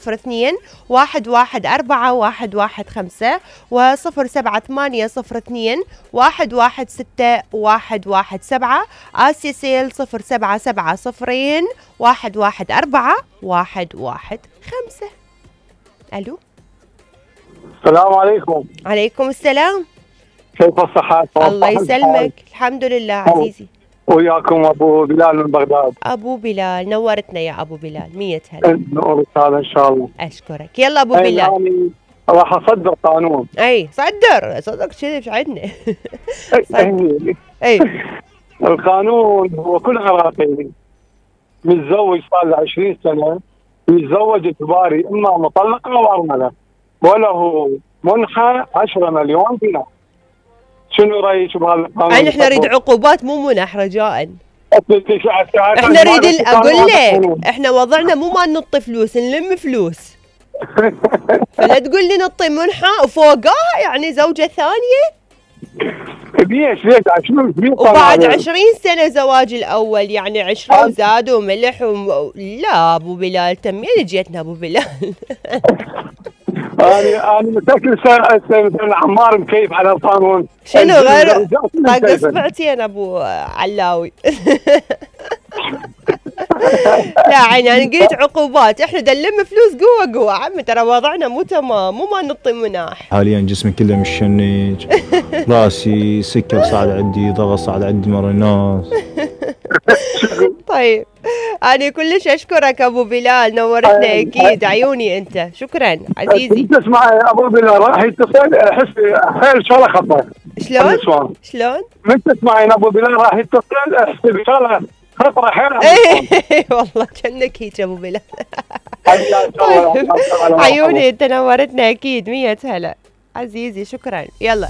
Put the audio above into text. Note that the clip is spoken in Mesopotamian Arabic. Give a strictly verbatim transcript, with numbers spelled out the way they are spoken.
صفر اثنين واحد واحد أربعة واحد واحد خمسة وصفر سبعة ثمانية صفر اثنين واحد واحد ستة واحد واحد سبعة. آسيا سيل صفر سبعة سبعة صفرين واحد واحد أربعة واحد واحد خمسة. ألو السلام عليكم. عليكم السلام. كيف الصحة؟ الله يسلمك. الحمد لله عزيزي. وياكم أبو بلال من بغداد. أبو بلال نورتنا يا أبو بلال. مية هلا. نورك هذا إن شاء الله. أشكرك. يلا أبو بلال. يعني راح أصدر قانون. أي صدر صدر كذي مش عندنا. أي القانون هو كل عراقي متزوج صار له عشرين سنة يتزوج اجباري إما مطلقة أو أرملة وله منحة عشرة مليون دينار. شنو رايك بهذا القانون؟ يعني احنا نريد عقوبات مو منح رجاء. احنا نريد اقول لك احنا وضعنا مو ما ننطي فلوس نلم فلوس. فلا تقول لي نطي منحة وفوقها يعني زوجة ثانية. ليش ليش عشرين وبعد عشرين سنة زواج الأول يعني عشرة وزاد وملح وم... لا أبو بلال تمين جيتنا أبو بلال. أنا أنا متأكد مثلا عمار مكيف على القانون. شنو غير طاق اصبعتين أبو علاوي. لا عيني أنا قلت عقوبات احنا دلم فلوس قوة قوة عمي ترى وضعنا مو تمام مو ما نطي مناح. حاليا جسمي كله مشنج راسي سكر صعد عندي ضغط صعد عندي مرة الناس. طيب أنا كلش أشكرك أبو بلال نورتنا أكيد عيوني أنت شكرا عزيزي. تسمع أبو بلال راح يتصل أحس حيل شغلة خطأ. شلون؟ شلون؟ من تسمعين أبو بلال راح يتصل أحس بشغلة خطرة حيل. ايه والله كأنك هيك أبو بلال. عيوني أنت نورتنا أكيد مية هلا عزيزي شكرا. يلا